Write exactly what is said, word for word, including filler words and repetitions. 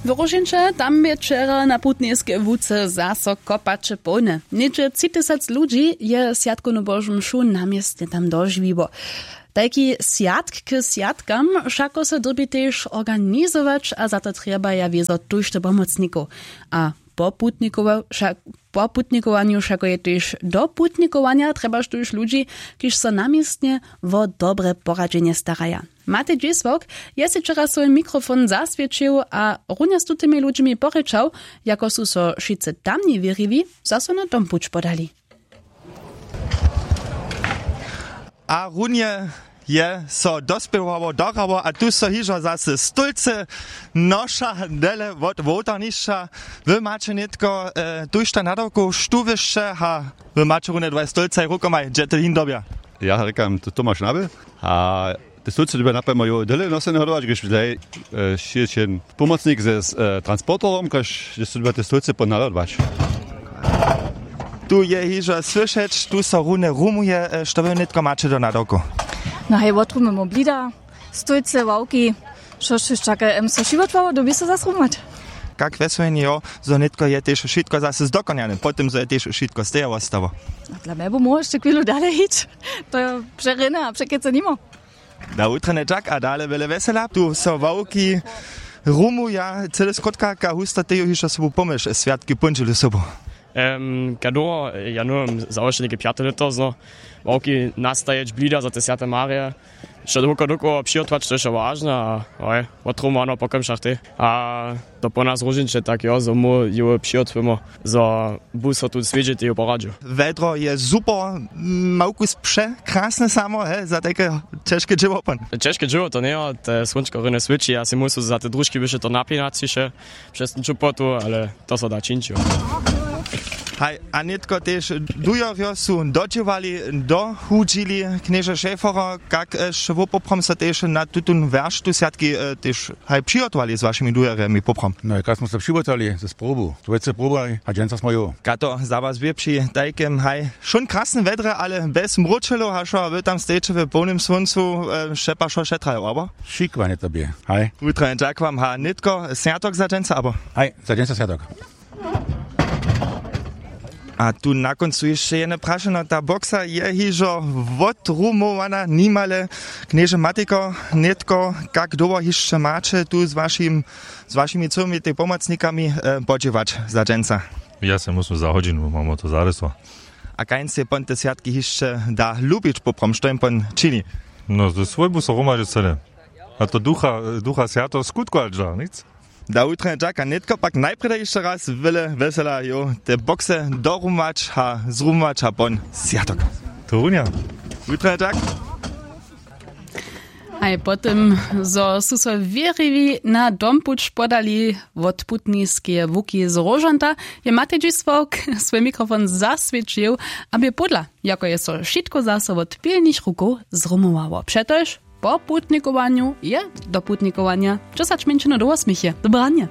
W Róžeńće tam bě wčera na putnejskej łuce zaso kopaće połne. Něhdźe tři tysac ludźi je swjatkownu božu mšu na městnje tam dožiwiło. Tajki swjatk k swjatkam wšako so dyrbi tež organizować a za to trjebaja wězo tójšto pomocnikow. A po putnikowa- wša- po putnikowanju wšako je tež do putnikowanja trjebaš tuž ludźi, kiž so na městnje wo dobre poradźenje staraja. Matej dźěsławk je sej wčera swój mikrofon zaswěćił a runje z tutymi ludźimi porěčał, jako su so wšitcy tamni wěriwi zaso na dompuć podali. A runje je so dospěwało dorało a tu so hižo zasy stólcy noša dele wot wołtarnišća. Wy maće nětko tuž ta nadawkow štó wyšće a wy maće runje dwaj stólcaj rukomaj dźe ty hin dobja. Ja rěkam, to tomaš naby. A te stólcy dyrbja napjemo jo dele nosene hodować, gdyž wdaj šěće pomocnik ze transporterom kaž, gdyž so dyrbja te stólcy ponadodwać. Tu je hižo słyšeć, tu so runje rumuje. Što wy nětko maće do nadawkow? No hej, wotrumujemo blida, stólcy, ławki, što štož take em so wšitko dyrbi so zas rumować. Kak wjeswjenje jo, zo nětko je tež wšitko zase zdokonjane po tym zo je tež wšitko steja wostało? A dla mje bu móhło hišće chwilu dale hić. To je přerjene a překecy nimo. Da wutrjene tak a dale wjele wjesela tu so ławki rumuja cyle skrótka ka husta teju hišće sobu pomyš swjatki póndźelu sobu. Em, kadoho ja nowym załožili ke pjate lěto zno, ławki nastajeć blida za te swjate marje, wšo dokoło dokoło přihotować to je wšo wažne a hoj, wotrumowano po kemšach tej a to po nas róžniće tak jo zo móhł jowy přihotujemo, zo bu so tu swědźe teju poradźił. Wjedro je super. Małkus překrasne samo he za tajke ćežke dźěło pon. Ćežke dźěło to njejo, te słónčko rjene swěći a sej móhł so za te družki byše to napinaciše přez ten čupotu ale to so da čińć jo. Haj, a nětko tež dujerjo su dodźěłali, dohudźili. Knježe šejforer, kak š wopoprom so tež na tutón wjerštu swjatki tež haj přihotowali z wašimi dujerjemi poprom? No kak smo so přihotowali z probu dwójce probu a dźensa smo ju. Kato za was bě při tajkem haj wšón krasnym wjedrje ale bjez mróčelow hašo a wy tam stejeće w połnym słóncu, šepašo šetrajo abo? Šikłanje to bě. Haj. Wutranje dźakłam ha nětko swjatok za dźensa abo? Haj, za dźensa swjatok. A tu na kóncu hišće jedne prašeno ta boksa je hižo wotrumowana nimale. Knježe matiko, nětko kak dołho hišće maće tu z wašim z wašimi cyłymi tej pomocnikami podźěłać za dźensa? Ja sej muslim za hodźinu mamo to zarysło. A kań sej pon te swjatki hišće da lubić poprom što jim pon čini? No ze swójbu so hromadźe cyle. A to ducha ducha swjato skutkować da nic. Da wutranje dźaka nětko pak najprjeda hišće raz wjele wjesela jo te bokse dorumować a zrumować a pon swjatok. To runja. Wutranje dźak. Haj po tym zo su so wěriwi na dompuć podali wot putniskeje łuki z róžanta, je matej dźisławk swój mikrofon zaswěćił, a bě pódla jako je so wšitko zaso wot pilnych rukow zrumowało přetož po putnikowanju je do putnikowanja. Dźesać mjeńšinow do wosměch je dobranje.